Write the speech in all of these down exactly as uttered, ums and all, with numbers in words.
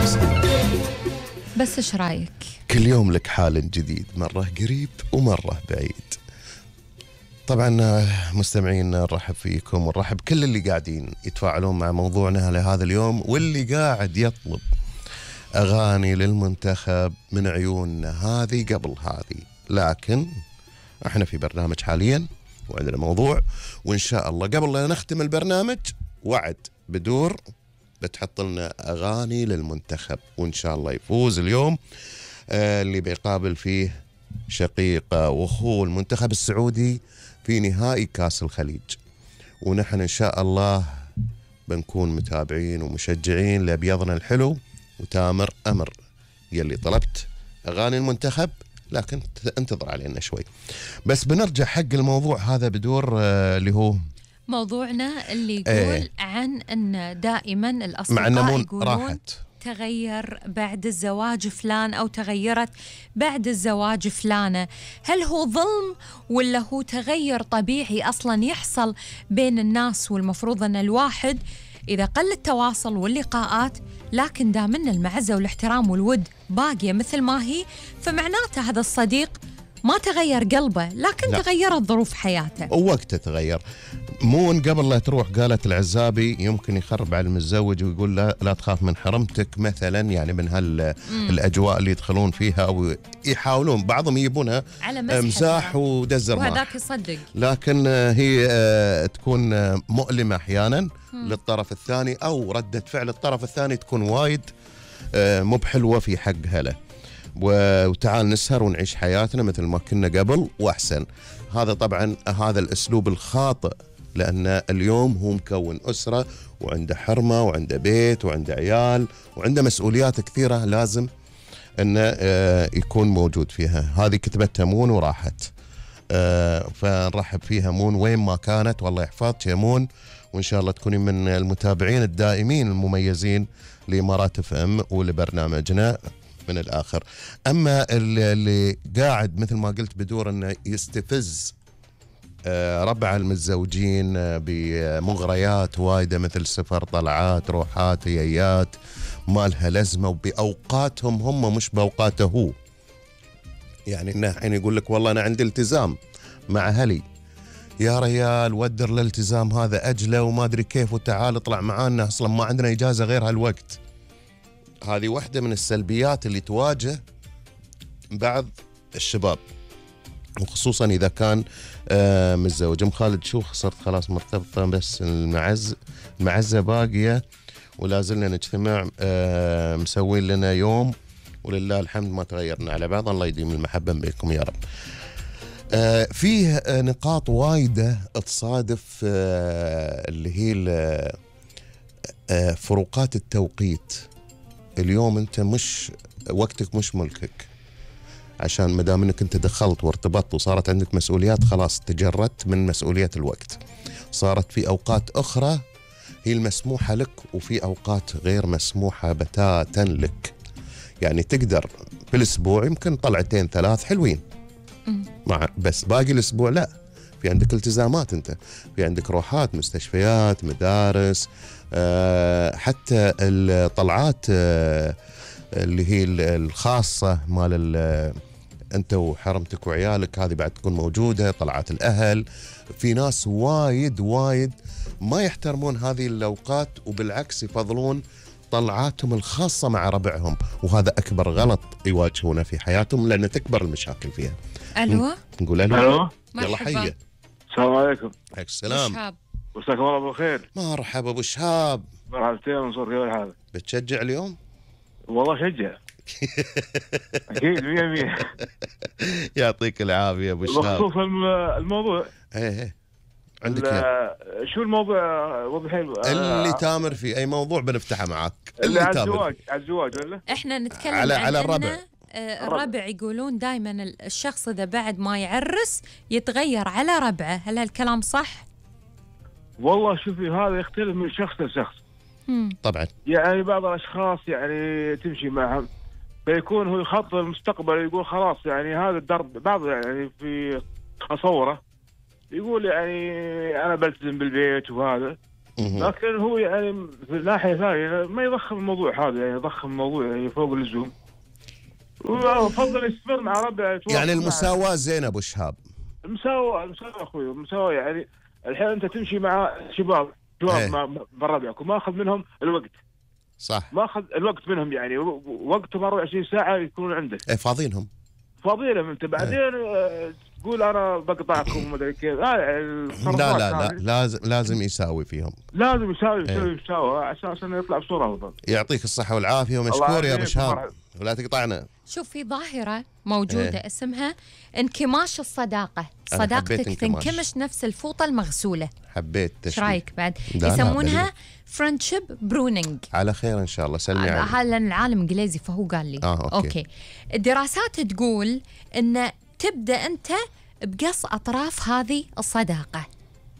وسهلا. بس ايش رايك؟ كل يوم لك حال جديد، مرة قريب ومرة بعيد. طبعا مستمعين نرحب فيكم ونرحب كل اللي قاعدين يتفاعلون مع موضوعنا لهذا اليوم، واللي قاعد يطلب أغاني للمنتخب من عيوننا هذه قبل هذه. لكن احنا في برنامج حاليا وعندنا موضوع، وإن شاء الله قبل لا نختم البرنامج وعد بدور بتحط لنا أغاني للمنتخب، وإن شاء الله يفوز اليوم آه اللي بيقابل فيه شقيقة وأخوه المنتخب السعودي في نهائي كاس الخليج. ونحن إن شاء الله بنكون متابعين ومشجعين لأبيضنا الحلو وتامر أمر يلي طلبت أغاني المنتخب، لكن انتظر علينا شوي. بس بنرجع حق الموضوع هذا بدور آه اللي هو موضوعنا اللي يقول ايه عن أن دائما مع الأصدقاء النمون يقولون راحت. تغير بعد الزواج فلان أو تغيرت بعد الزواج فلانة. هل هو ظلم ولا هو تغير طبيعي أصلا يحصل بين الناس؟ والمفروض أن الواحد إذا قل التواصل واللقاءات لكن دامن المعزة والاحترام والود باقية مثل ما هي، فمعناته هذا الصديق ما تغير قلبه، لكن لا. تغيرت ظروف حياته ووقته تغير. مون قبل لا تروح قالت العزابي يمكن يخرب على المتزوج ويقول لا, لا تخاف من حرمتك مثلا، يعني من هالأجواء اللي يدخلون فيها أو يحاولون بعضهم يجيبونها على مزاح ودزر ماح، وهذاك يصدق. لكن هي تكون مؤلمة أحيانا للطرف الثاني، أو ردة فعل الطرف الثاني تكون وايد مو بحلوة في حق هلا. وتعال نسهر ونعيش حياتنا مثل ما كنا قبل وأحسن. هذا طبعا هذا الأسلوب الخاطئ، لأن اليوم هو مكون أسرة وعنده حرمة وعنده بيت وعنده عيال وعنده مسؤوليات كثيرة لازم أنه يكون موجود فيها. هذه كتبتها مون وراحت، فنرحب فيها مون وين ما كانت، والله يحفظك يا مون، وإن شاء الله تكوني من المتابعين الدائمين المميزين لإمارات اف ام ولبرنامجنا من الآخر. أما اللي قاعد مثل ما قلت بدور أنه يستفز ربع المتزوجين بمغريات وايدة مثل سفر طلعات روحات هيات ما لها لازمة وبأوقاتهم هم مش بأوقاته هو. يعني إنه حين يقول لك والله أنا عندي التزام مع أهلي، يا ريال ودر الالتزام هذا أجله وما أدري كيف، وتعال اطلع معانا أصلا ما عندنا إجازة غير هالوقت. هذه واحدة من السلبيات اللي تواجه بعض الشباب، وخصوصا إذا كان آه متزوج. أم خالد شو صرت خلاص مرتبطة بس المعز المعزة باقية ولازلنا نجتمع، آه مسوين لنا يوم ولله الحمد ما تغيرنا على بعض، الله يديم المحبة بينكم يا رب. آه فيه آه نقاط وايدة تصادف آه اللي هي آه فروقات التوقيت. اليوم انت مش وقتك مش ملكك، عشان مدام انك انت دخلت وارتبطت وصارت عندك مسؤوليات خلاص تجردت من مسؤولية الوقت. صارت في اوقات اخرى هي المسموحة لك وفي اوقات غير مسموحة بتاتا لك. يعني تقدر في الاسبوع يمكن طلعتين ثلاث حلوين مع، بس باقي الاسبوع لا، في عندك التزامات، انت في عندك روحات مستشفيات مدارس، أه حتى الطلعات أه اللي هي الخاصة مال انت وحرمتك وعيالك هذه بعد تكون موجودة. طلعات الاهل، في ناس وايد وايد ما يحترمون هذه الاوقات وبالعكس يفضلون طلعاتهم الخاصة مع ربعهم، وهذا اكبر غلط يواجهونه في حياتهم لان تكبر المشاكل فيها. الو نقول الو. الو يلا حيه. السلام عليكم. عليك السلام. مساكم الله بالخير. مرحبا ابو شهاب. مرحبتين منصور، كيف الحال؟ بتشجع اليوم؟ والله شجع. اكيد مية مية. يعطيك العافيه ابو شهاب. بخصوص الموضوع ايه ايه عندك يا. شو الموضوع وضحين اللي تامر في اي موضوع بنفتحه معك. اللي على الزواج، على الزواج ولا احنا نتكلم على عن على الربع. آه الربع يقولون دائما الشخص اذا بعد ما يعرس يتغير على ربعه، هل هالكلام صح؟ والله شوفي هذا يختلف من شخص لشخص. مم. طبعا يعني بعض الاشخاص يعني تمشي معهم فيكون هو يخطط المستقبل، يقول خلاص يعني هذا الدرب. بعض يعني في تصوره يقول يعني انا بلتزم بالبيت وهذا، لكن هو يعني في الناحيه الثانيه ما يضخم الموضوع هذا، يعني يضخم الموضوع يعني فوق اللزوم، وافضل يستمر مع ربعه. يعني المساواه زين ابو شهاب. المساواه المساواه اخوي، المساواه يعني الحين انت تمشي مع شباب شباب ايه. مع بربعك وما اخذ منهم الوقت. صح. ما اخذ الوقت منهم، يعني وقتهم أربعة وعشرين ساعه يكونون عندك. ايه فاضينهم. فاضيلهم انت بعدين ايه. تقول انا بقطعكم وما ادري كيف. لا لا لا لا لازم لازم يساوي فيهم. لازم يساوي يساوي ايه. يساوي على اساس انه يطلع بصوره افضل. يعطيك الصحه والعافيه ومشكور يا ابو شهاب ولا تقطعنا. شوف في ظاهرة موجودة ايه. اسمها انكماش الصداقة. صداقتك تنكمش نفس الفوطة المغسولة. حبيت تشبيه. ايش رايك بعد؟ يسمونها فريندشيب برونينج. على خير ان شاء الله. سلمي عليه. هذا العالم انجليزي فهو قال لي. آه، أوكي. اوكي. الدراسات تقول ان تبدا انت بقص اطراف هذه الصداقة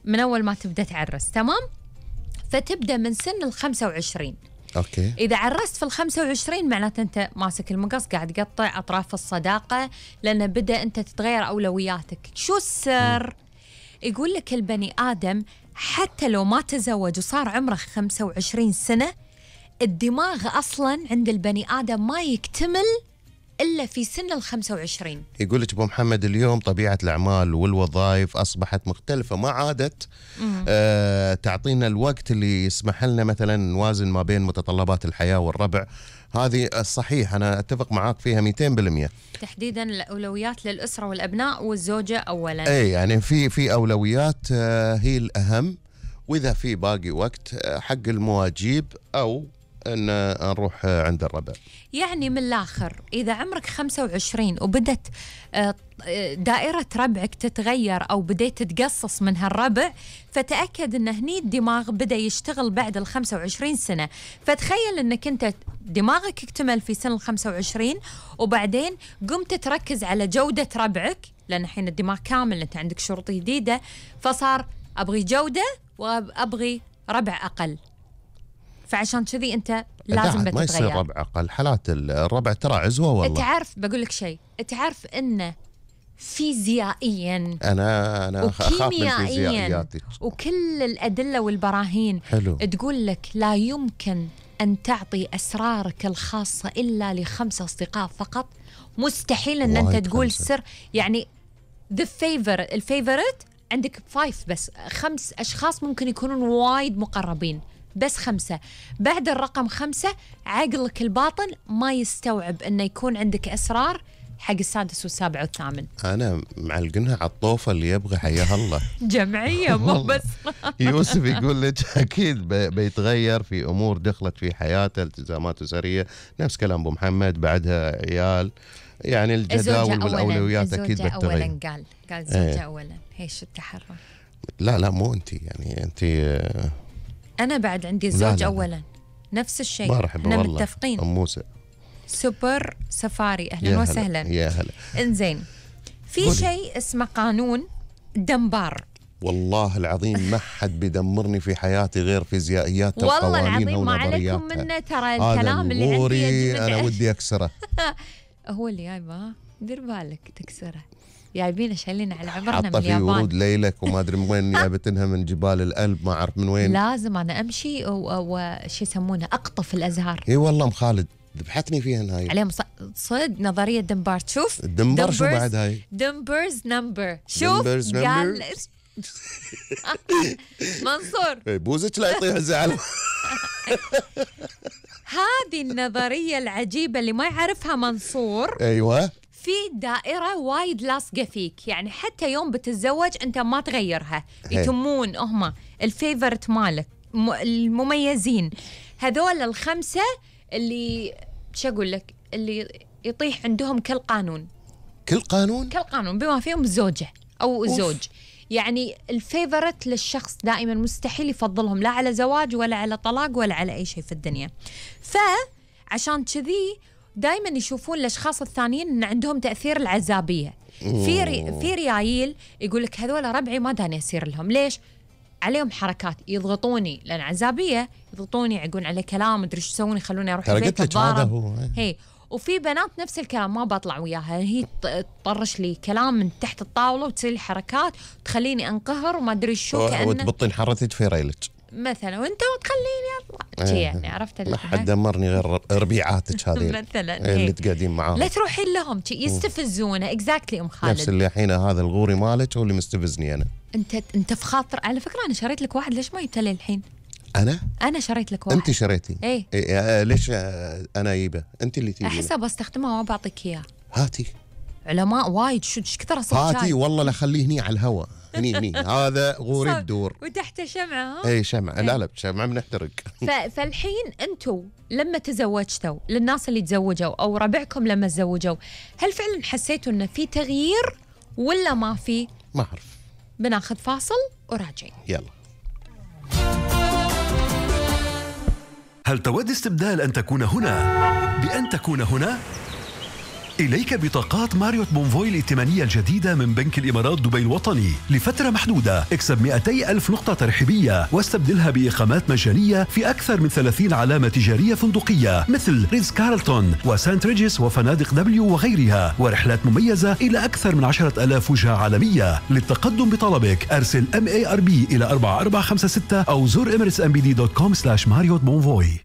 من اول ما تبدا تعرس، تمام؟ فتبدا من سن ال خمسة وعشرين. اوكي. إذا عرست في الخمسة وعشرين معناته أنت ماسك المقص قاعد تقطع أطراف الصداقة، لأن بدأ أنت تتغير أولوياتك. شو السر؟ م. يقول لك البني آدم حتى لو ما تزوج وصار عمره خمسة وعشرين سنة، الدماغ أصلاً عند البني آدم ما يكتمل إلا في سن الخمسة وعشرين. يقول لك أبو محمد اليوم طبيعة الأعمال والوظائف أصبحت مختلفة، ما عادت آه تعطينا الوقت اللي يسمح لنا مثلا نوازن ما بين متطلبات الحياة والربع. هذه الصحيح، أنا أتفق معاك فيها مئتين بالمئة. تحديدا الأولويات للأسرة والأبناء والزوجة أولا. أي يعني في في أولويات آه هي الأهم، وإذا في باقي وقت آه حق المواجيب أو أن نروح عند الربع. يعني من الآخر إذا عمرك خمسة وعشرين وبدت دائرة ربعك تتغير أو بديت تتقصص من هالربع، فتأكد أن هني الدماغ بدأ يشتغل بعد الخمسة وعشرين سنة. فتخيل أنك أنت دماغك اكتمل في سن الخمسة وعشرين وبعدين قمت تركز على جودة ربعك، لأن الحين الدماغ كامل أنت عندك شروط جديدة، فصار أبغي جودة وأبغي ربع أقل. فعشان كذي انت لازم بتتغير. ما يصير ربع اقل، حالات الربع ترى عزوه والله. تعرف بقول لك شيء، تعرف انه فيزيائيا انا انا اخاف من فيزيائياتك وكل الادله والبراهين حلو. تقول لك لا يمكن ان تعطي اسرارك الخاصه الا لخمس اصدقاء فقط. مستحيل ان انت تقول خمسة. سر يعني ذا فيفر الفيفورت عندك فايف بس، خمس اشخاص ممكن يكونون وايد مقربين، بس خمسة. بعد الرقم خمسة عقلك الباطن ما يستوعب أنه يكون عندك أسرار حق السادس والسابع والثامن. أنا معلقنها على الطوفة اللي يبغى حياها الله. جمعية مو بس. يوسف يقول لك أكيد بيتغير في أمور دخلت في حياته، التزامات أسرية، نفس كلام أبو محمد، بعدها عيال، يعني الجداول والأولويات أكيد بتتغير. أولا قال قال الزوجة ايه. أولا هيش التحرر. لا لا مو أنت، يعني أنت أنا بعد عندي الزوج أولا نفس الشيء. احنا متفقين. أم موسى سوبر سفاري، أهلا وسهلا. يا هلا. إنزين، في شيء اسمه قانون دنبار. والله العظيم ما حد بيدمرني في حياتي غير فيزيائياتها والله العظيم ما عليكم منه، ترى الكلام اللي عندي أنا ودي أكسره. هو اللي جايبه، دير بالك تكسره. جايبينه شايلين على عبرنا من اليابان. حاطه في ورود ليلك وما ادري من وين جابتنها، من جبال الألب ما اعرف من وين. لازم انا امشي وش يسمونه اقطف الازهار. اي والله ام خالد ذبحتني فيها هاي. عليهم صدق نظريه دنبار. تشوف دنبر شو بعد هاي؟ دنبرز نمبر. شوف قال منصور بوزك لا يطيح الزعل. هذه النظريه العجيبه اللي ما يعرفها منصور. ايوه، في دائرة وايد لاصقة فيك، يعني حتى يوم بتتزوج أنت ما تغيرها. يتمون هم الفيفورت مالك، المميزين هذول الخمسة اللي شو أقول لك، اللي يطيح عندهم كل قانون كل قانون كل قانون بما فيهم الزوجة أو الزوج. يعني الفيفورت للشخص دائما مستحيل يفضلهم لا على زواج ولا على طلاق ولا على أي شيء في الدنيا. فعشان كذي دائما يشوفون الاشخاص الثانيين ان عندهم تاثير العزابيه. في ري في ريايل يقول لك هذول ربعي ما داني اسير لهم، ليش؟ عليهم حركات يضغطوني، لان عزابيه يضغطوني، يعقون علي كلام مدري ايش يسوون، يخلوني اروح البيت اتضارب. هي وفي بنات نفس الكلام ما بطلع وياها، هي تطرش لي كلام من تحت الطاوله وتسوي لي حركات وتخليني انقهر وما ادري شو، كأنه وتبطين حرتك في ريلك مثلا وانت وتخليني اطلع شي يعني عرفت ما حد دمرني غير ربيعاتك هذه مثلا اللي إيه. تقعدين معاهم لا تروحين لهم يستفزونه اكزاكتلي ام خالد. نفس اللي الحين هذا الغوري مالك هو اللي مستفزني انا. انت انت في خاطر على فكره انا شريت لك واحد ليش ما يبتلي الحين؟ انا انا شريت لك واحد. انت شريتي؟ ايه, إيه آه ليش آه انا اجيبه؟ انت اللي تجيبه. احسها بستخدمها وما بعطيك اياه. هاتي. علماء وايد شو ايش كثر اصلا هاتي والله لا خليه هني على الهواء هني هني هذا غوري الدور وتحت شمعه. ها اي شمعه. لا لا شمعه بنحترق. فالحين انتم لما تزوجتوا للناس اللي تزوجوا او ربعكم لما تزوجوا هل فعلا حسيتوا انه في تغيير ولا ما في؟ ما اعرف. بناخذ فاصل وراجعين. يلا. هل تود استبدال أن تكون هنا بأن تكون هنا؟ إليك بطاقات ماريوت بونفوي الائتمانية الجديدة من بنك الإمارات دبي الوطني لفترة محدودة. اكسب مئتي ألف نقطة ترحيبية واستبدلها بإقامات مجانية في أكثر من ثلاثين علامة تجارية فندقية مثل ريتز كارلتون وسانت ريجيس وفنادق دبليو وغيرها، ورحلات مميزة إلى أكثر من عشرة ألاف وجهة عالمية. للتقدم بطلبك أرسل إم إيه آر بي إلى أربعة أربعة خمسة ستة أو زور إميريتس إم بي دي دوت كوم سلاش ماريوت بونفوي.